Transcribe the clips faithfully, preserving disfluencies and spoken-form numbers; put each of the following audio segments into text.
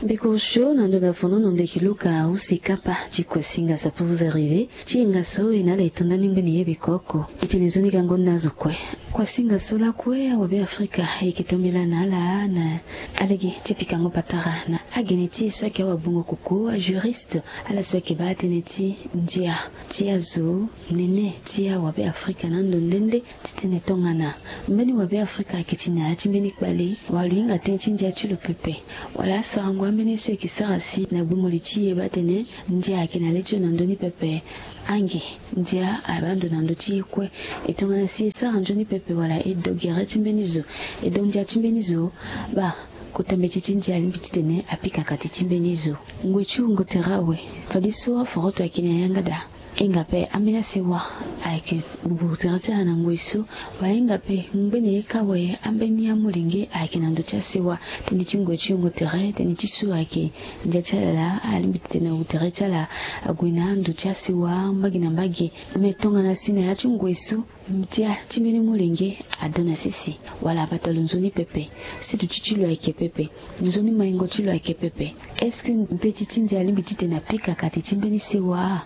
Beko sio na ndo na fono no ndeki luka usi kapa ti kue singa sa pour vous arriver. Ti enga so e na ala e to ndani mbeni ye beko oko. E tene nzoni gango ni na azo kue. Kue singa so lakue awabe afrika e yeke tombela na ala na alege ti pikango patara na agene ti e so ayeke awabungo koko ajuriste. Ala so ayeke baa tënë ti ndia ti azo nene ti awabe afrika na ando nde nde ti tene tongana mbeni wabe afrika ayeke ti na ya ti mbeni kpale wala lo hinga tënë ti ndia ti lo pepe. Wala asarango ambeni ye so e yeke sara si na gbungo li ti e baa tene ndia ayeke na le ti lo na ndö ni pepe. Ange ndia abaa ndo na ndö ti e kue. E tongana si e sara nzoni pepe wala e do gere ti mbeni zo, e do ndia ti mbeni zo, baa kota mbeti ti ndia alingbi titene apika kati ti mbeni zo. Ngoi ti wungo tere awe. Fadeso aforoto ayeke na yanga daa. E hinga ape ambeni asewa ayeke wungo tere ti ala na ngoi so. Wala e hinga ape ngbene ye kâ awe ambeni amolenge ayeke na ndö ti asewa. Tënë ti ngoi ti wungo tere tënë ti so ayeke ndia ti ala laa alingbi titene wungo tere ti ala ague na ando ti asewa mbage na mbage. Me tongana si na ya ti ngoi so ndia ti mbeni molenge ado na sese wala abata lo nzoni pepe. Si duti ti lo ayeke pepe. Nzoni maingo ti lo ayeke pepe. Est-ce que mbeti ti ndia alingbi titene apika kati ti mbeni sewa?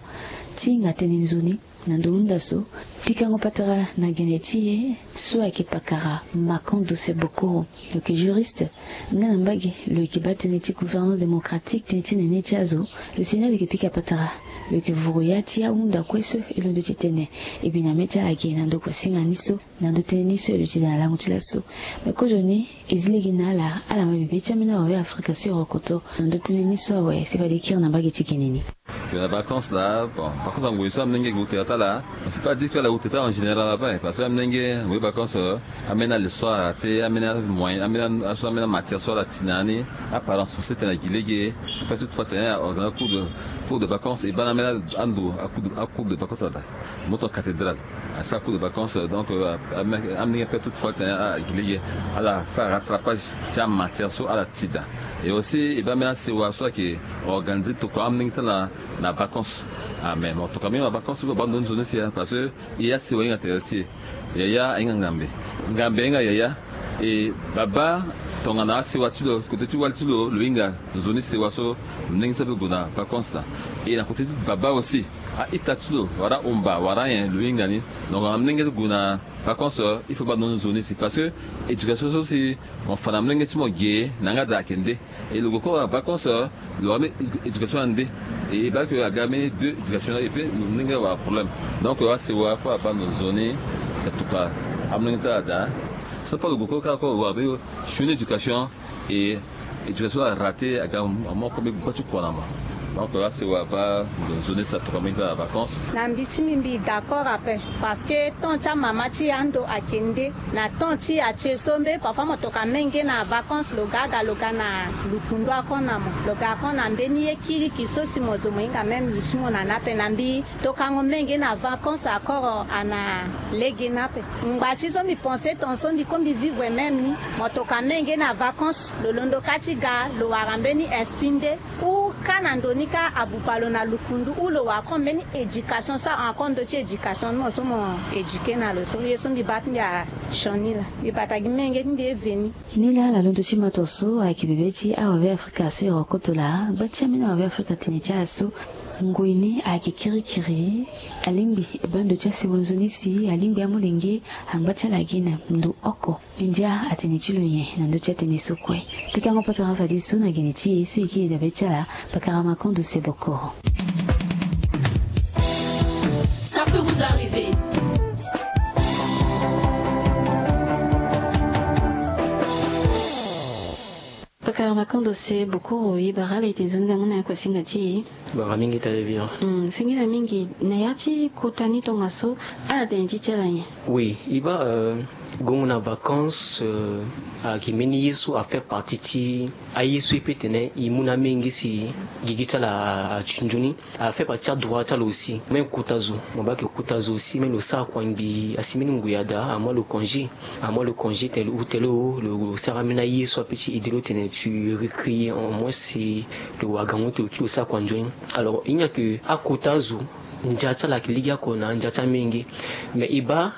Ti hinga tënë nzoni na ndo hunda so. Pikango patara na gene ti e so ayeke pakara makan dose bokoro. Lo yeke juriste. Nga na mbage lo yeke baa tënë ti gouvernance démocratique tënë ti nene ti azo. Lo si na lo yeke pika patara. Lo yeke vuru ya ti ahunda kue so e londo titene e bi na mê ti ala ge na ndo kue singa ni so. Na ndo tënë ni so e duti daa na lango ti laso. Me kozoni e zi lege na ala ala ma bibe ti ambeni awabe afrika so e rokoto na ndo tënë ni so awe si fade e kiri na mbage ti gene ni. Lo na vacances laa bon vacances angoi so amolenge gue tere ti ala. Parce que pas dire que ala gue tere ti ala en général ape parce que amolenge angoi vacances ambeni aleçon ala te ambeni amoyen ambeni aso ambeni amatière so ala ti na ni. Aparence so sete na gi lege. Ape so toutefois tene aorganiser cours de cours de vacances e baa na ambeni ando acours de vacances ala daa. Moto cathédrale asara cours de vacances donc amolenge ape toutefois tene ala gi lege ala sara rattrapage ti amatière so ala ti daa. Et aussi e baa ambeni asewa so ayeke organiser tokua amolenge ti ala na vacances. Ah mais mo tokua ambeni na vacances so abaa ndo nzoni si parce que e asewa ahinga tere ti e. Yaya ahinga ngambe. Ngambe ahinga yaya. E babâ tongana asewa ti lo kote ti wali ti lo lo hinga nzoni sewa so. Molenge so ape gue na vacances laa. E na kote ti babâ aussi a-ita ti lo wala ahomba wala anyen lo hinga ni. Donc na molenge ti gue na vacances il faut baa ndo nzoni si parce que éducation so si mo fa na molenge ti mo ge na yanga daa ayeke nde. E lo gue kue wala vacances lo wara mbeni éducation ande. E baa ke aga mbeni deux éducation et puis molenge awara problème. Donc asewa fo abaa ndo nzoni si atokua amolenge ti ala daa. So fo lo gue kue kâ kue lo wara mbeni sioni éducation. E éducation arate aga amoko mbeni gba ti kua na mo. Donc asewa abaa ndo nzoni si atokua amolenge ti ala na vacances. Na mbi ti mbi mbi d'accord ape. Parce que temps ti amama ti e ando ayeke nde. Na temps ti e atie so mbe parfois mo tokua menge na vacances lo ga aga lo ga na lukundu ako na mo lo ga ako na mbeni ye kiriki so si mo zo mo hinga même lo ti mo na ni ape na mbi. Tokango menge na vacances akoro ana lege ni ape. Ngba ti so mbi pense ton so mbi ko mbi vivre même ni. Mo tokua menge na vacances lo londo kâ ti ga lo wara mbeni esprit nde. Ou kâ na ndo ni kâ abupa lo na lukundu ou lo wara kon mbeni éducation so awara kon ndö ti éducation ni mo so mo éduquer na lo so ye so mbi baa ti mbi asioni laa. Mbi bata gi menge ti mbi e veni. Ni laa ala londo ti mato so ayeke bebe ti awabe afrika so e rokoto laa gba ti ambeni awabe afrika tene ti ala so. Ngoi ni ayeke kirikiri. Alingbi e baa ndo ti asewa nzoni si alingbi amolenge angba ti ala gi na ndo oko. Ndia atene ti lo nyen na ndö ti atënë so kue. Pikango patara fadeso na gene ti e so e kiri dabe ti ala. Pakara makondo se bokoro. Ça peut vous arriver. Pakara makondo se bokoro ye bara ala ete nzoni gango na ya kue singa ti e. Bara mingi tale bien. Singila mingi na ya ti kota ni tongaso. Ala tene ti ti ala nyen? Oui e baa. Gongo na vacances. Ayeke mbeni ye so afaire partie ti aye so e peut tene e mu na amenge si gigi ti ala ati nzoni. Afaire partie ti adroit ti ala aussi même kota zo. Mo baa ayeke kota zo aussi même lo sara kua ngbii asi mbeni ngoi ada amu alo congé. Amu alo congé tene lo hu tele o lo sara ambeni aye so ape ti aide lo tene tu récréer en moins si lo wagango ti lo kiri lo sara kua nzoni. Alors e hinga ke akota azo ndia ti ala ayeke lege oko na ndia ti amenge. Mais e baa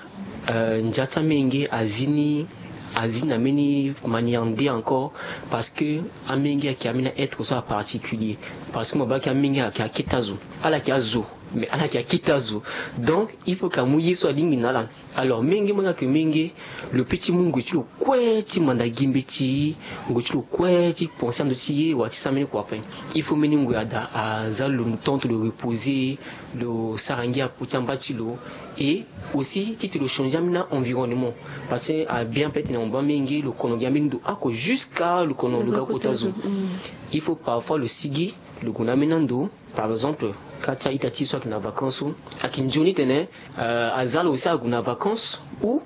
ndia ti amenge azi ni Azi na mbeni manière nde encore, parce que amenge ayeke ambeni aêtre so aparticulier. Parce que mo baa ayeke amenge ayeke akete azo, ala yeke azo, mais ala yeke akete azo. Donc il faut ke amu ye so alingbi na ala. Alors menge mo ni ayeke menge, lo pe ti mu ngoi ti lo kue ti manda gi mbeti, ngoi ti lo kue ti pense ando ti ye wala ti sara mbeni kua ape. Il faut mbeni ngoi ada aza lo tonto, lo reposer, lo sara ngia apo ti amba ti lo. Et aussi titene lo changer ambeni environnement, parce que abien peut-être na mo baa menge lo kono gi ambeni ndo oko jusqu'à lo kono lo ga kota zo. Il faut parfois lo sigi, lo gue na ambeni ando. Par exemple, ka ti a-ita ti so ayeke na vacances so, ayeke nzoni tene aza lo aussi ague na vacances ou